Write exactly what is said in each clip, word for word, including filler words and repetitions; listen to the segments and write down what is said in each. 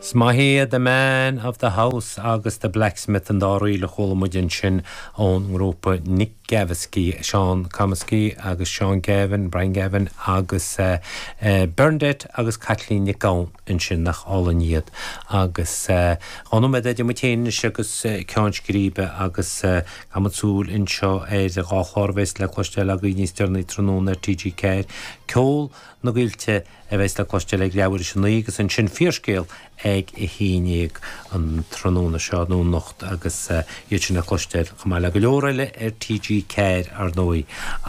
Is maith iad The Man of the House agus The Blacksmith an dá ríl a chuala muid ansin ón ngrúpa Nick Gavaskey, Seán Comiskey agus Seán Gavin, Brian Gavin agus uh, uh, Bernadette agus Kathleen Nic Gabhann ansin nach álainn iad agus uh, Ánú idir muid féin agus uh, ceann scríbe agus uh, súil anseo ar dhá chlár a bheas le cloisteáil agaibh níos deireanaí tráthnóna ar TG Ceathair ceol na gCoillte a bheas le cloisteáil ag leathuair tar éis a naoi agus ansin fíorscéal ag a haon déag an tráthnóna seo nó anocht agus uh, iad sin le cloisteáil chomh maith le go leor eile ar TG Ceathair ar ndóigh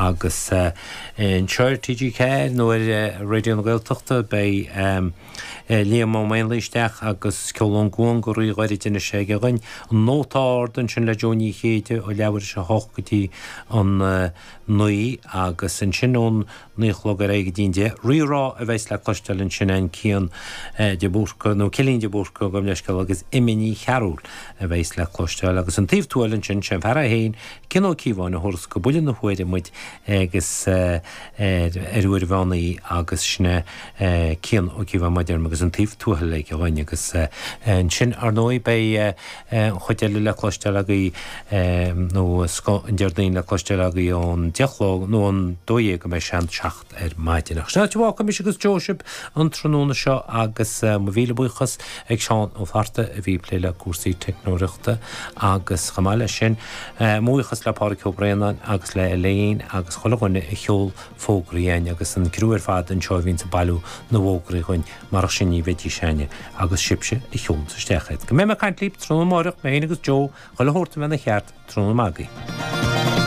agus uh, anseo ar TG Ceathair nó ar uh, Raidió na Gaeltachta beidh um, Liam Ó Maonlaí isteach agus ceol ón gCuan go rí-ghairid ina sé againn an Nóta Ard ansin le Joe Ní Chéide ó leathuair tar éis a hocht go dtí an uh, naoi agus ansin ón naoi a chlog ar aghaidh go dtí an deich Rí-Rá a bheas le cloisteáil ansin an Cian uh, de Búrca nó Cilín de Búrca gabh mo leithscéal agus Imní Ní Chearúil a bheas le cloisteáil agus an taobh tuail ansin sin fear é féin Cian Ó Cíobháin a thabharfas go buille na huaire muid agus uh, ar ar uair bhánaí agus sinne uh, Cian Ó Cíobháin maidir agus an taobh tuathail ag againn agus uh, ansin ar ndóigh beidh chuid eile le cloisteáil agaibh nó an Déardaoin le cloisteáil agaibh ón deich a chlog nó an dó dhéag go mbeidh sean seacht ar maidin. Ach sin mise agus Joe an tráthnóna seo agus mo mhíle buíochas ag Seán Ó Fátharta a bhí ag plé le cúrsaí teicneolaíochta agus chomh maith leis sin buíochas le Pádraig Ó Braonáin agus le Elaine agus chuile dhuine a sheol fógraí chugainn agus an criú ar fad anseo a bhíonn ag bailiú na bhfógraí chugainn mar sin ní bheidís againne agus sibhse a sheolann isteach iad. Go mbeidh mé ag caint libh tráthnóna amárach mé agus Joe chuile shórt a bheith ina cheart tráthnóna maith agaibh.